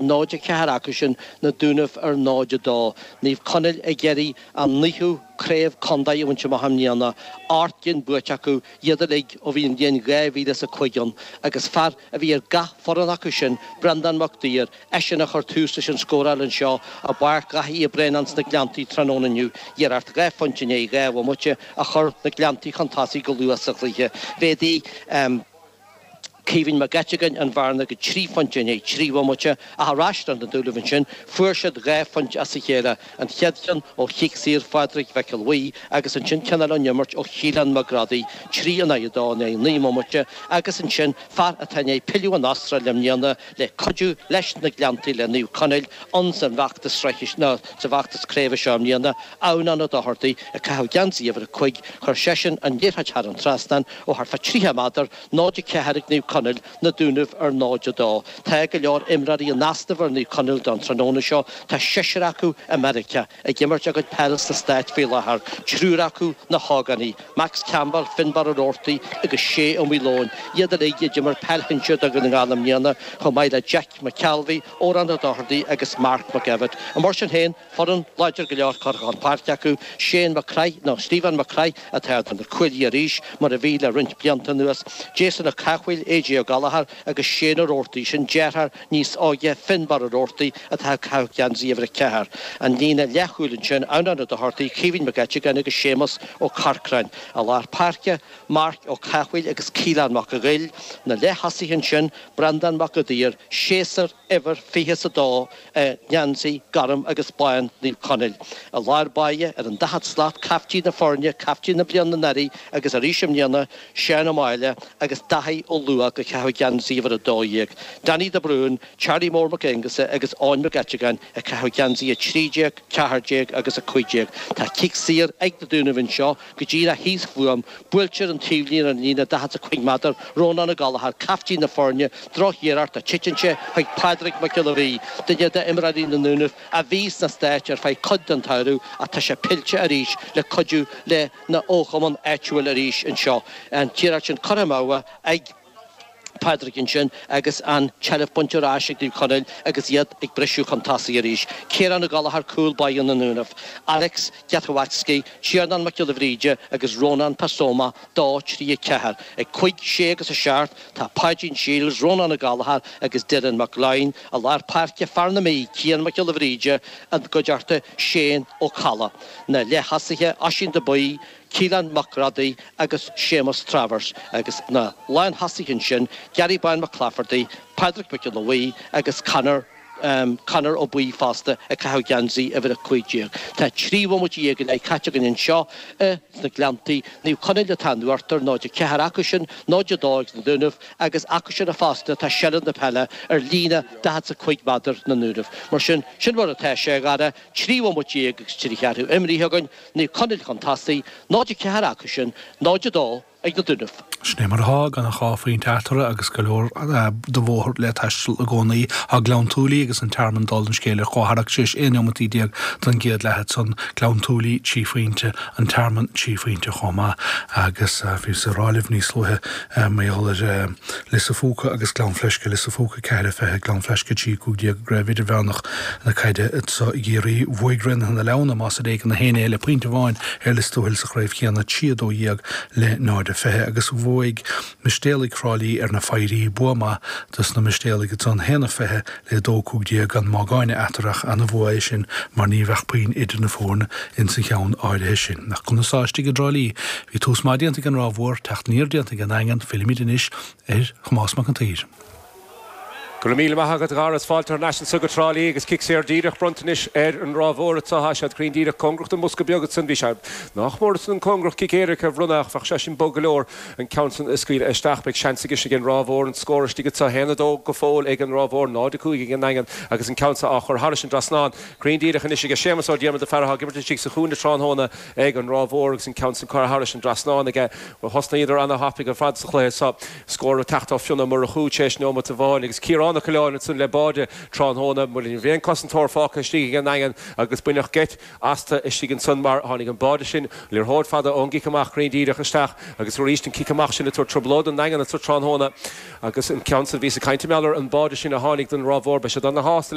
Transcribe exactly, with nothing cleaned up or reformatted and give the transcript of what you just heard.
náid a ceathair acusin, Na Dúnaibh ar náid a dó. Naomh Conaill ag iarraidh a naoú craobh contae a bhaint amach i mbliana, ocht gcinn buaite acu, iad uilig ó bhí an bhliain dhá mhíle is a cúig ann, agus fear a bhí ar gach foireann acu sin, Breandán Mac Duibhir, eisean a chuir tús leis an scóráil anseo i bPáirc Dhaithí Uí Bhraonáin sna Gleanntaí tráthnóna inniu, iarracht dhá phointe i ndiaidh dhá bhomaite a chuir na Gleanntaí chun tosaigh go luath sa chluiche. Mhéadaigh. Caoimhín Mac Eiteagáin an bhearna go trí phointe i ndiaidh trí bhomaite, ach ar ais do na Dúnaibh ansin, fuair siad dhá phointe as a chéile, an chéad cheann ó chic saor Phádraig Mhic Giolla Bhuí agus ansin ceann eile ón imirt ó Shíleán Mac Grádaigh, trí in aghaidh a dó i ndiaidh naoi mbomaite, agus ansin fear atá i ndiaidh pilleadh ón Astráil i mbliana le cuidiú leis na Gleanntaí le Naomh Conaill ann san bhfeachtas sraithe nó sa bhfeachtas craoibhe seo i mbliana, Adhamhnán Ó Dochartaigh, ag caitheamh geansaí uimhir a cúig, chuir seisean an liathróid thar an trasnán ó thart fá tríocha méadar, náid a ceathair ag Naomh Conaill, Na Dúnaibh ar náid a dó. Tá go leor imreoirí in easnamh ar Naomh Conaill don tráthnóna seo. Tá seisear acu i Meiriceá ag imirt a gcuid peile sna Stáit faoi láthair, triúr acu na hógánaigh, Max Campbell, Finbarr Ó Roarty agus Shay Ó Maoileoin, iad uilig a d'imir peil shinsir do Dhún na nGall i mbliana, chomh maith le Jack McKelvey, Odhrán Ó Dochartaigh agus Mark McEvitt. Mar sin féin, foireann láidir go leor curtha chun páirce acu, Shane Mac Craith nó Stephen Mac Craith atá ar na cuaillí arís, mar a bhí le roinnt blianta anuas, Jason Ó Cathmhaoil, AJ Ó Gallchóir agus Shane Ó Roarty, sin deartháir níos óige Finbarr Ó Roarty atá ag caitheamh geansaí uimhir a ceathair. An líne leathchúil ansin, Adhamhnán Ó Dochartaigh, Caoimhín Mac Eiteagáin agus Séamus Ó Corcráin. I lár páirce, Marc Ó Cathmhaoil agus Caolán Mac a' Ghoill. Na leath-thosaithe ansin, Breandán Mac a' Daoir, séasúr uimhir fiche is a dó i ngeansaí gorm agus bán Naomh Conaill. I lár báire, ar an daichead slat, caiftín na foirne, caiftín na bliana anuraidh agus arís i mbliana, Seán Ó Máille agus Daithí Ó Luaigh ag caitheamh geansaí uimhir a dó dhéag, Danny de Brún, Charlie Mór Mac Aonghusa agus Eoin Mac Eiteagáin ag caitheamh geansaí a trí déag, ceathair déag agus a cúig déag. Tá cic saor ag na Dúnaibh anseo go díreach thíos fúm. Buailtear an taobhlíne ar an líne daichead is a cúig méadar, Rónán Ó Gallchóir, caiftín na foirne, drochiarracht ach titeann sé chuig Pádraig Mac Giolla Bhuí, duine d'imreoirí na nDúnaibh a bhí sna Stáit ar feadh cuid den tsamhradh ach tá sé pillte arís le cuidiú lena fhochumann áitiúil arís anseo. An t-iarracht sin curtha amú ag Pádraig ansin agus an tseilbh bainte ar ais ag Naomh Conaill agus iad ag briseadh chun tosaigh arís. Ciarán Ó Gallchóir cúl báire na nDúnaibh, Alex Gethowatski, Tiarnán Mac Giolla Bhríde agus Rónán Pasoma, dó, trí, a ceathair. Ag cúig, sé agus a seacht tá Páidín Shields, Rónán Ó Gallchóir agus Dylan Mac Gloinn. I lár páirce, fear na Mí, Cian Mac Giolla Bhríde, i gcuideachta Shane Ó Colla. Na leath-thosaithe, Oisín de Buí, Keelan Mac Rodaigh agus Séamus Travers agus na lánthosaithe ansin, Gary Bán Mac Claifertaigh, Pádraig Mac Giolla Bhuí agus Conor Conor Ó Buí fosta ag caitheamh geansaí uimhir a cúig déag. Tá trí bhomaite dhéag go leith caite againn anseo i sna Gleanntaí. Naomh Conaill atá in uachtar, náid a ceathair acusin, náid a dó ag na Dúnaibh agus acusin fosta atá seilbh na peile ar líne daichead is a cúig méadar na nDúnaibh. Mar sin, sin mar atá sé, a Dhara, trí bhomaite dhéag agus trí cheathrú imrithe againn, Naomh Conaill chun tosaigh, náid a ceathair acusin, náid a dó ag na Dúnaibh. Sin é mar atá, gan ach dhá phointe eatarthu agus go leor de bhóthar le taisteal i gcónaí. Tá Gleann tSúilí agus an Tearmann dála an scéil ar comhtharrac tar éis aon neomataí déag den gcéad leath ansan. Gleann tSúilí trí phointe, an Tearmann trí phointe chomh maith agus bhíos ag rá libh níos luaithe mar gheall ar Lios a' Phúca agus Gleann Fleisce, Lios a' Phúca ceathair a fiche, Gleann Fleisce trí cúig déag i gCraobh Idirmheánach na Caide anso i gCiarraí. Bhuaigh Raonaithe na Leamhna, más ar éigean, a haon le pointe amháin ar Lios Tuathail sa chraobh chéanna, trí a dó dhéag le náid a fiche, agus bhuaigh Mistéalaigh Thrá Lí ar na Foidhrí, bua maith dos na Mistéalaigh ansan, haon a fiche le dó cúig déag, gan mágáine eatarthu ach ana-bhua é sin mar ní bheadh puinn idir na foirne ins an cheann áirithe sin. Ach conas tá istigh i dTrá Lí? Bhí tús maith déanta ag an Ráth Mhór, teacht aniar déanta ag an nDaingean, fillimid anois ar Thomás Mac an tSaoir. Go raibh míle maith agat, a Dhara. Is fáilte thar n-ais anso go Trá Lí agus cic saor díreach bronnta anois ar an Ráth Mhór anso. Tá siad cruinn díreach cóngarach don mbosca beag ansan. Bhí sé nách mór ansan cóngarach cic éirice a bhronnadh ach bheadh sé sin bog go leor an ceann san a scaoileadh isteach. Beidh seans aige ag an Ráth Mhór an scór istigh anso. Haon a dó go fóill ag an Ráth Mhór, náid a cúig ag an nDaingean agus an ceann so á chur thairis an dtrasnán. Cruinn díreach anois aige Séamus Ó Diarmada, fear atá ag imirt istigh sa chúinne tráthnóna ag an Ráth Mhór agus an ceann san curtha thairis an dtrasnán aige. Thosnaíodar ana-thapaidh ar fad sa chluiche so. Scór ag teacht ó Fionn Ó Murchú tar éis neomat amháin agus Ciarán Trá na Coileáin ansan le báide tráthnóna mar ní bhíonn cosantóir fágtha istigh ag an nDaingean agus baineadh geit astu istigh ansan mar tháinig an báide sin liathróid fada ón gcic amach cruinn díreach isteach agus arís an cic amach sin ag tabhairt trioblóid don nDaingean anso tráthnóna agus an ceann san bhíos ag caint ar an báide sin a tháinig don Ráth Mhór beidh siad ana-shásta